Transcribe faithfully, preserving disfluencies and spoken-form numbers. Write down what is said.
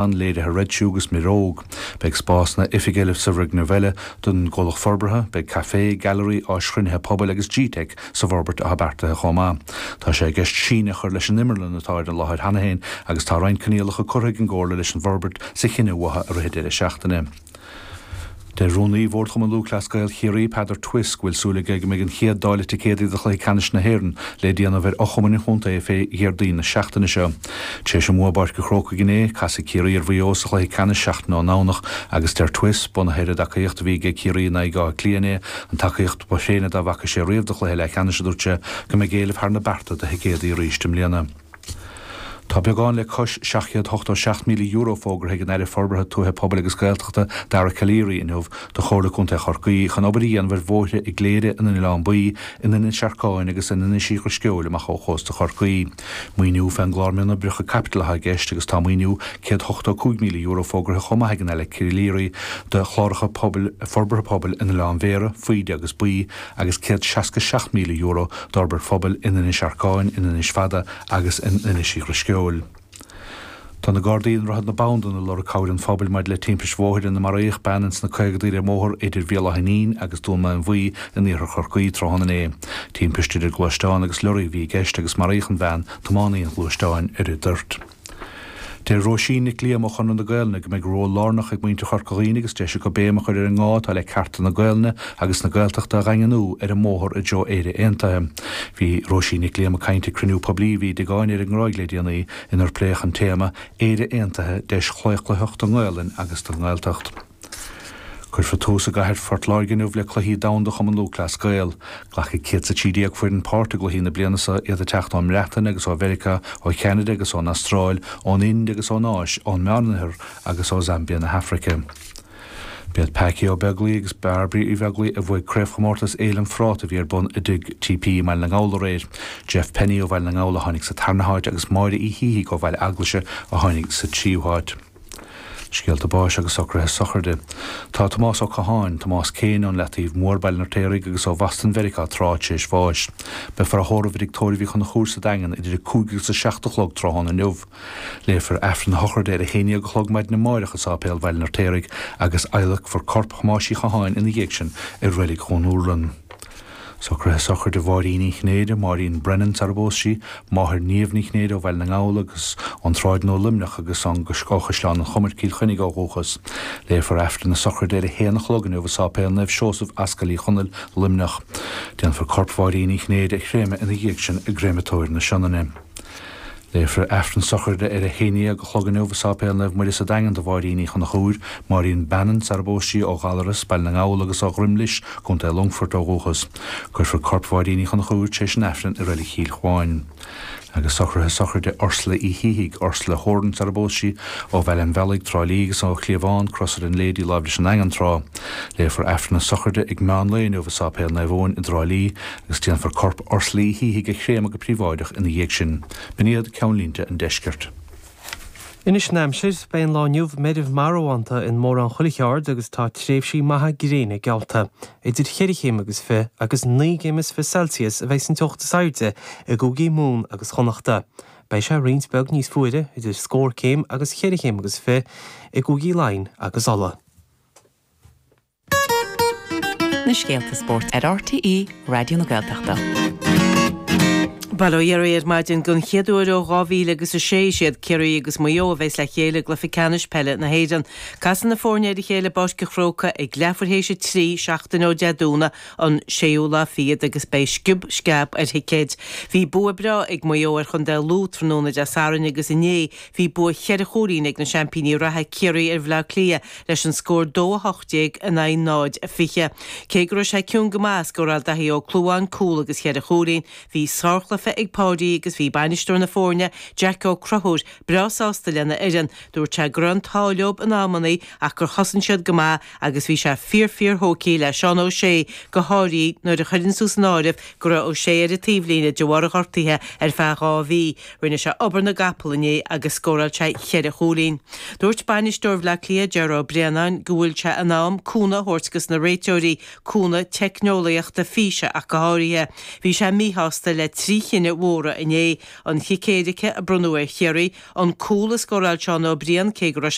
An léirithe Red Shoe agus Miróg. Beidh spásanna oifige eile sa bhfoirgneamh eile don gcomhlacht forbartha, beidh caifé, gailearaí, áis chruinnithe pobail agus G-Tech sa bhforbairt atá beartaithe chomh maith. Tá sé i gceist síneadh a chur leis an imearlann atá ar an láthair cheana féin agus tá roinnt coinníollacha curtha ag an gComhairle leis an bhforbairt sa chinneadh uathu i rith an deireadh seachtaine. Deir Rúnaí Bhord Chumann Lúthchleas Gael Chiarraí, Peadar Twiss, go bhfuil súil aige go mbeidh an chéad dáileadh ticéadaí do chluiche ceannais na hÉireann le déanamh ar fhochumainn an chontae fé Dhéardaoin na seachtaine seo. Tar éis an bhua i bPáirc an Chrócaigh inné, casfaidh Ciarraí ar Mhaigh Eo sa chluiche ceannais seachtain ón nDomhnach agus deir Twiss, bunaithe ar an dtacaíocht a bhí ag Ciarraí in aghaidh Átha Cliath inné, an tacaíocht ba thréine dá bhfaca sé riamh do chluiche leathcheannais, a dúirt sé, go mbeidh éileamh thar na bearta do thicéadaí arís i mbliana. Tá beagán le cois seacht chéad ochtó seacht míle euro fógartha ag an Aire Forbartha Tuaithe, Pobail agus Gaeltachta, Dara Calleary inniu do Chomhairle Contae Chorcaí chun obair a dhéanamh ar bhóithre i gCléire, in Oileán Buí, in Inis Earcáin agus in Inis Uí Dhrisceoil amach ó chósta Chorcaí. Maoiniú fén gClár Mionoibreacha Caipitil atá i gceist agus tá maoiniú céad ochtó cúig míle euro fógartha chomh maith ag an Aire Calleary do chláracha pobail forbartha pobail in Oileán Bhéarra, Faoide agus Baoi agus céad seasca seacht míle euro d'fhorbairt phobail in Inis Earcáin, in Inis Fada agus in Inis Uí Dhrisceoil. Tá na Gardaí i nDroichead na Bandan ag lorg cabhair an phobail maidir le timpist bhóthair ina maraíodh bean ins na caogadaí ar an mbóthar idir Bhéal Átha Fhínín agus Dún Maonmhuí in iarthar Chorcaí tráthnóna inné. Timpist idir gluaisteán agus lorry a bhí i gceist agus maraíodh an bhean, tiománaí an ghluaisteáin, ar an dtoirt. Deir Róisín Nic Liam ó Chonradh na Gaelainne go mbeidh ról lárnach ag muintir Chorca Dhuibhne agus deis acu béim a chur ar an ngá atá le cearta na Gaelainne agus na Gaeltachta a dhaingniú ar an mbóthar i dtreo Éire Aontaithe. Bhí Róisín Nic Liam ag caint ag cruinniú poiblí a bhí i dTigh Áine ar an nGráig le déanaí inar pléadh an téama 'Éire Aontaithe, Deis Chlaochlaitheach don nGaelainn agus don nGaeltacht'. Cuirfear tús i gcathair Phort Láirge inniu le Cluichí Domhanda Chumann Lúthchleas Gael. Glacfaidh céad is a trí déag foireann páirt i gcluichí na bliana seo, iad ag teacht ón mBreatain agus ó Mheiriceá, ó Cheanada agus ón Astráil, ón Ind agus ón Áis, ón Meánoirthear agus ó Zambia na hAfraice. B'iad Packie Ó Beaglaoi agus Bairbre Uí Bheaglaoi a bhuaigh Craobhchomórtas Fhéile an Phráta a bhí ar bun i dTigh TP i mBaile na nGall aréir. Jeff Penny ó Bhaile na nGall a tháinig sa tarna háit agus Máire Uí Shíthigh ó Bhaile Eaglaise a tháinig sa tríú háit. Scéalta báis agus socruithe sochraide. Tá Tomás Ó Catháin, Tomás Kane, ón Leataobh Mhór, Baile an Fheirtéaraigh agus ó Bhoston Mheiriceá tráth tar éis bháis. Beifear á thórramh i dTigh Tórraimh Uí Chonchúir sa Daingean idir a cúig agus a seacht a chlog tráthnóna inniu. Léifear Aifreann a shochraide ar a haon déag a chlog maidin amáireach i Sáipéal Bhaile an Fheirtéaraigh agus adhlacfar corp Thomáis Uí Chatháin ina dhiaidh sin i Reilig Dhún Úrlann. Socruithe sochraide Mháirín Uí Chinnéide, Máirín Brennan sar a bpós sí, máthair Niamh Ní Chinnéide ó Bhaile na nGall agus ón tSráid Nua Luimneach agus ó Chaisleán an Chomair, Cill Chainnigh ó dhúchas. Léifear Aifreann na sochraide ar a haon a chlog inniu i Sáipéal Naomh Seosamh, Ascaill Uí Chonaill, Luimneach. Déanfar corp Mháirín Uí Chinnéide a chréamadh ina dhiaidh sin i gCréamatóir na Sionainne. Léifear Aifreann sochraide ar a haon déag a chlog inniu i Sáipéal Naomh Muire sa Daingean do Mháirín Uí Chonchúir, Máirín Bannon sar a bpós sí, ó Ghallaras, Baile na nGall agus ó Dhroim Lis, Contae Longfoirt ó dhúchas. Cuirfear corp Mháirín Uí Chonchúir tar éis an Aifrinn i Reilig Chill Chuáin. Agus socruithe sochraide Ursula Uí Shíthigh, Ursula Horan sar a bpós sí, ó Bhaile an Bhealaigh, Trá Lí agus ó Chliabhán, Crosaire an Lady láimh leis an nDaingean tráth. Léifear Aifreann na sochraide ag meán lae inniu i Sáipéal Naomh Eoin i dTrá Lí agus déanfar corp Ursula Uí Shíthigh a chréamadh go príobháideach ina dhiaidh sin. B'in iad ceannlínte an deiscirt. Anois an aimsir, beidh an lá inniu meirbh marbhánta in mórán chuile cheard agus tá tréimhsí maithe gréine geallta. Idir cheithre chéim agus fiche agus naoi gcéim is fiche Celsius a bheidh an teocht is airde i gcúigí Mumhan agus Chonnachta. Beidh sé roinnt beag níos fuaire, idir scór céim agus cheithre chéim agus fiche, i gcúigí Laighean agus Uladh. Na scéalta spóirt ar RTÉ Raidió na Gaeltachta. Bail ó Dhia oraibh ar maidin. Don chéad uair ó dhá mhíle agus a sé, is iad Ciarraí agus Maigh Eo a bheas le chéile i gcluiche ceannais peile na hÉireann. Casfaidh na foirne ar a chéile i bPáirc an Chrócaigh ag leathuair théis a trí, seachtain ó Dé Domhnaigh, an séú lá fichead agus beidh sciob sceab ar thicéid. Bhí bua breá ag Maigh Eo ar chontae Lú tráthnóna Dé Sathairn agus inné bhí bua cheithre chúilín ag na seaimpíní reatha Ciarraí ar Bhleá Cliath leis an scór dó a hocht déag in aghaidh náid a fiche. Cé go raibh sé ciúin go maith, scóráil Daithí Ó Clúmháin cúl agus cheithre chúilín. Bhí sárchluiche ag Páidí agus bhí bainisteoir na foirne, Jack Ó Conchúir, breá sásta lena fhoireann. Dúirt sé go raibh an t-ádh leo in amannaí ach gur chosain siad go maith agus bhí sé fíor fíor thógtha le Seán Ó Sé go háirithe nuair a chuireann tú san áireamh go raibh Ó Sé ar an taobhlíne de bharr a ghortaithe ar feadh dhá mhí. Rinne sé obair na gcapall inné agus scóráil sé cheithre chúilín. Dúirt bainisteoir Bhaile Átha Cliath, Ger Ó Braonáin, go bhfuil sé in am cúnamh a thabhairt dos na réiteoirí, cúnamh teicneolaíochta físe ach go háirithe. Bhí sé míshásta le trí chinneadh cinnidh mhóra inné, an chic éirice a bronnadh ar Chiarraí, an cúl a scóráil Seán Ó Briain cé go raibh